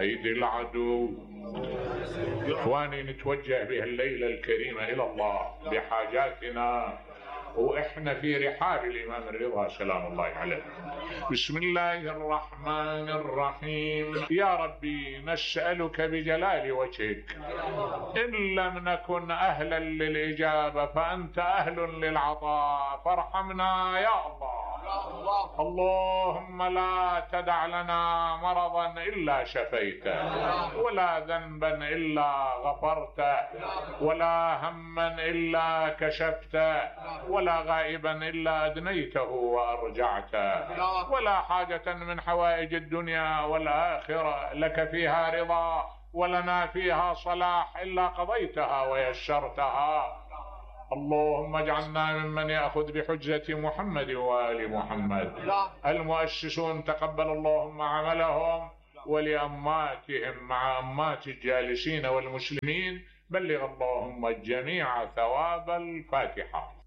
أيدي العدو. إخواني، نتوجه بهالليلة الكريمة إلى الله بحاجاتنا وإحنا في رحاب الإمام الرضا سلام الله عليه. بسم الله الرحمن الرحيم. يا ربي نسألك بجلال وجهك، إن لم نكن أهلا للإجابة فأنت أهل للعطاء، فارحمنا يا الله. اللهم لا تدع لنا مرضا إلا شفيته، ولا ذنبا إلا غفرته، ولا هما إلا كشفته، ولا غائبا إلا أدنيته وأرجعته، ولا حاجة من حوائج الدنيا والآخرة لك فيها رضا ولنا فيها صلاح إلا قضيتها ويسرتها. اللهم اجعلنا ممن يأخذ بحجة محمد وآل محمد. المؤسسون تقبل اللهم عملهم، ولأماتهم مع أمات الجالسين والمسلمين بلغ اللهم الجميع ثواب الفاتحة.